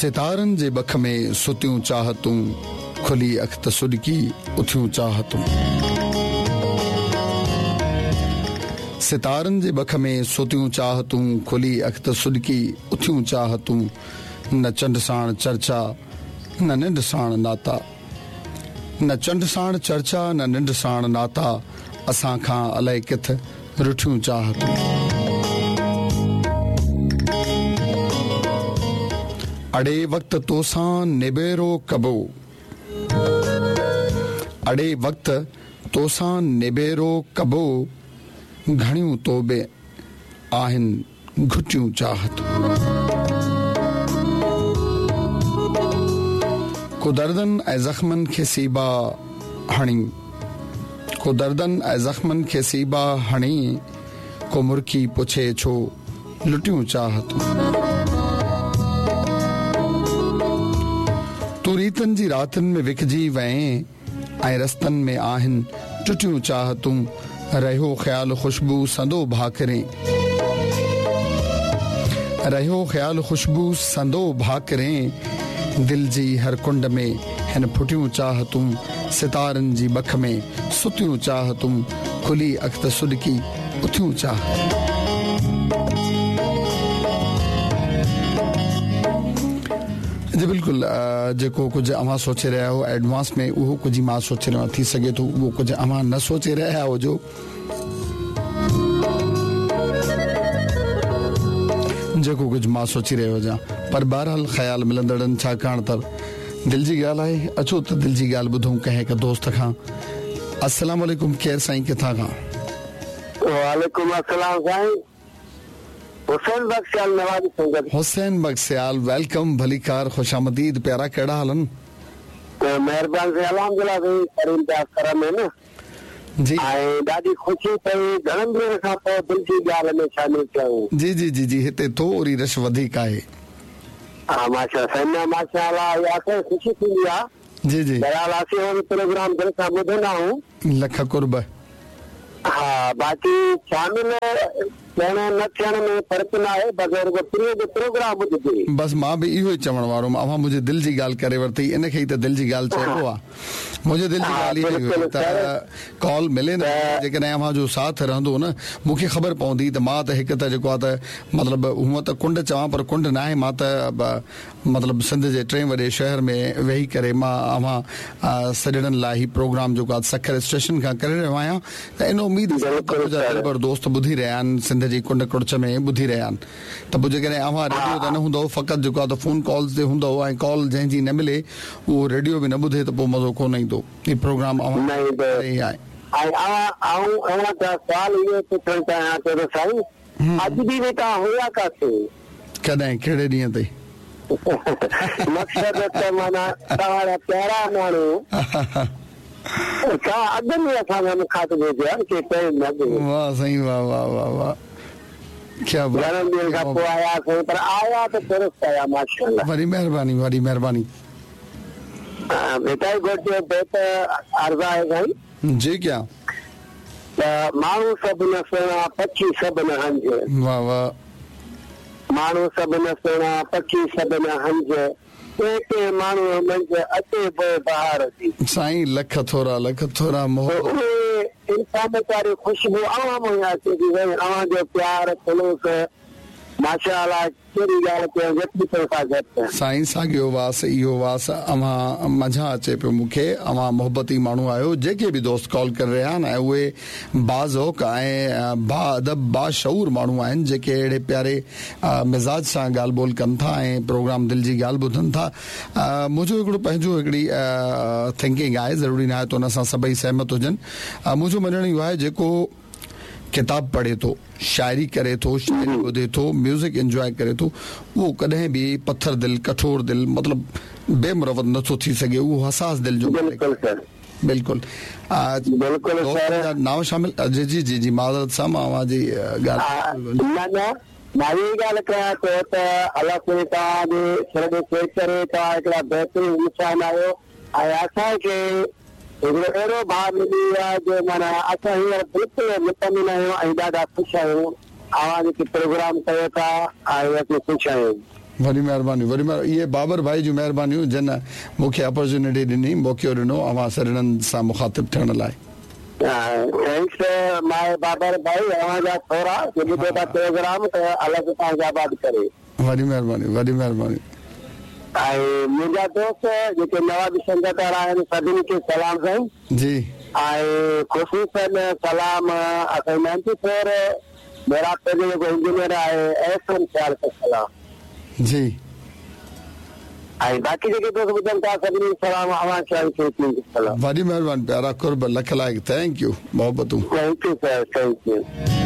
ستارن جي ٻک ۾ ستيون چاهتون، کلي اک ته سڏڪي اٿيون چاهتون. ستارن جي ٻک ۾ ستيون چاهتون، کلي اک ته سڏڪي اٿيون چاهتون. نه چنڊ ساڻ چرچا، نه ننڊ ساڻ ناتا. نه چنڊ ساڻ چرچا، نه ننڊ ساڻ ناتا، اسان کان الائي ڪٿ رٺيون چاهتون. اڙي وقت توسان نبيرو ڪبو. اڙي وقت توسان نبيرو ڪبو، گهڻيون تو به آهن گهٽيون چاهتون. ڪو دردن ۽ زخمن کي سيبا هڻي، ڪو دردن ۽ زخمن کي سيبا هڻي، ڪو مرڪي پڇي ڇو لٽيون چاهتون. تون ريتن جي راتن ۾ وکجي وئين ۽ رستن ۾ آهن ٽٽيون چاهتون. رهيو خيال خوشبو سندو ڀاڪرين. رهيو خيال خوشبو سندو ڀاڪرين. دل جي هر ڪنڊ ۾ هن ڦٽيون چاهتون. ستارن جي ٻک ۾ ستيون چاهتون. کلي اک ته سڏڪي اٿيون چاهتون. جي بلڪل جيڪو ڪجهه اوهان سوچي رهيا آهيو ايڊوانس ۾ اهو ڪجهه مان سوچي رهيو آهيان ٿي سگهي ٿو اهو ڪجهه اوهان نه سوچي رهيا هجو. جيڪو ڪجهه مان سوچي رهيو هجان پر بهرحال خيال ملندڙن ڇاڪاڻ ته دل جي ڳالهه آهي اچو ته دل جي ڳالهه ٻڌون ڪنهن هڪ دوست کان السلام عليڪم ڪير سائين ڪٿان کان. وعليڪم السلام سائين حسين بخش سيال نوابي سنگت. حسين بخش سيال welcome ڀليڪار خوش آمديد پيارا ڪهڙا حال آهن. مهربان سائين الحمدلله سائين ڪريم جا ڪرم آهن. جي. ۽ ڏاڍي خوشي ٿي گهڻن ڏينهن کان پوء دل جي ڳالهه ۾ شامل ٿيا آهيون. جي جي جي جي هتي ٿوري رش وڌيڪ آهي. ها ماشاء سائين نه ماشاء الله اها اسان کي خوشي ٿيندي آ. جي جي. بهرحال اسين اهو پروگرام دل سان ٻڌندا آهيون. لک قرب. ها باقي شامل ٿيڻ نه ٿيڻ ۾ فرق ناهي بس رڳو پرينء جو پروگرام ٻڌجي. بس مان به اهو ئي چوڻ وارو هوم اوهان منهنجي دل جي ڳالهه ڪري ورتي ان کي ئي ته دل جي ڳالهه چئبو آ. منهنجي دل جي ڳالهه اها ئي هئي ته ڪال ملي نه ملي جيڪڏهن اوهان جو ساٿ رهندو نه مون کي خبر پوندي ته مان ته هڪ ته جيڪو آ ته مطلب هونء ته ڪنڊ چوان پر ڪنڊ ناهي مان ته مطلب سنڌ جي ٽئين وڏي شهر ۾ ويهي ڪري مان اوهان سڄڻن لاء هي پروگرام جيڪو آ سکر اسٽيشن کان ڪري رهيو آهيان ته ان اميد سان ته منهنجا دلبر دوست ٻڌي رهيا آهن سنڌ جي ڪنڊ ڪڙڇ ۾ ٻڌي رهيا آهن ته پوء جيڪڏهن اوهان ريڊيو تي نه هوندؤ فقط جيڪو آ ته فون ڪالز تي هوندؤ ۽ ڪال جنهن جي نه ملي اهو ريڊيو به نه ٻڌي ته پوء مزو ڪونه ايندو. هي پروگرام اوهان نه ايندو. ڪري ئي آهي. ۽ اوهان آئون اوهان کان سوال اهو پڇڻ چاهيان ٿو ته سائين اڄ ڏينهن به توهان هيا ڪاٿي؟ ڪڏهن ڪهڙي ڏينهن تي؟ مقصد ته معنيٰ توهان جا پيارا ماڻهو توهان اڳ ۾ اسان کان مخاطب هجو ها ڪي ٽائيم اڳ. واه سائين واه واه واه واه. ڪيا بات گهڻن ڏينهن کان پوء آيا سائين پر آيا ته درست آيا ماشاءالله. وڏي مهرباني وڏي مهرباني. ڀٽائي گهوٽ جو بيت عرض آهي سائين. جي ڪيا. ته ماڻهو سڀ نه سهڻا پکي سڀ نه هنج. واه واه. ماڻهو سڀ نه سهڻا پکي سڀ نه هنج ڪنهن ڪنهن ماڻهوء منجهه اچي بوء بهار جي. سائين لک ٿورا لک ٿورا محبت. اهي انسانيت واري خوشبو اوهان مان ئي اچي ٿي سائين اوهان جو پيار خلوص ماشاءالله ڪهڙي ڳالهه ڪيان جيتري پئسا گهٽ. سائين ساڳيو واس اهو واس اوهان منجهان اچي پيو مون کي اوهان محبتي ماڻهو آهيو جيڪي به دوست ڪال ڪري رهيا آهن ۽ اهي باذوق ۽ باادب باشعور ماڻهو آهن جيڪي اهڙي پياري مزاج سان ڳالهه ٻولهه ڪن ٿا ۽ پروگرام دل جي ڳالهه ٻڌن ٿا. منهنجو هڪڙو پنهنجو هڪڙي ٿنڪنگ آهي ضروري ناهي ته ان سان سڀئي سهمت هجن. منهنجو مڃڻ اهو آهي جيڪو ڪتاب پڙهي ٿو، شاعري ڪري ٿو، شاعري ٻڌي ٿو، ميوزڪ انجواء ڪري ٿو اهو ڪڏهن به پٿر دل، ڪٺور دل مطلب بي مروت نٿو ٿي سگهي اهو حساس دل جو مالڪ آهي. بلڪل بلڪل سر ناو شامل جي جي جي جي معذرت سان مان اوهان جي ڳالهه نه نه مان اها ئي ڳالهه ڪيان ٿو ته الله سائين توهان جي سر ۾ خير ڪري توهان هڪڙا بهترين انسان آهيو ۽ اسان کي هڪڙو اهڙو ڀاء ملي ويو آهي جو معنيٰ اسان هينئر بلڪل مطمئن آهيون ۽ ڏاڍا خوش آهيون اوهان جيڪي پروگرام ڪيو ٿا ۽ اسين خوش آهيون. وڏي مهرباني وڏي مهرباني اهي بابر ڀائي جون مهربانيون جن مون کي اپرچونٽي ڏني موقعو ڏنو اوهان سڄڻن سان مخاطب ٿيڻ لاء. Thanks ماء بابر ڀائي اوهان جا ٿورا جو ٻڌو ٿا پروگرام ته الله سائين توهان کي آباد ڪري. وڏي مهرباني وڏي مهرباني. ۽ منهنجا دوست جيڪي نوابي سنگت وارا آهن سڀني کي سلام سائين. جي. ۽ خصوصن سلام اسان جي نائنٽي فور محرابپور جو جيڪو انجنيئر آهي احسن سيال کي سلام. جي. ۽ باقي جيڪي دوست ٻڌن ٿا سڀني کي سلام اوهان کي ۽ سڄي ٽيم کي سلام. وڏي مهرباني پيارا قرب لک لائق thank you محبتون. Thank you sir thank you.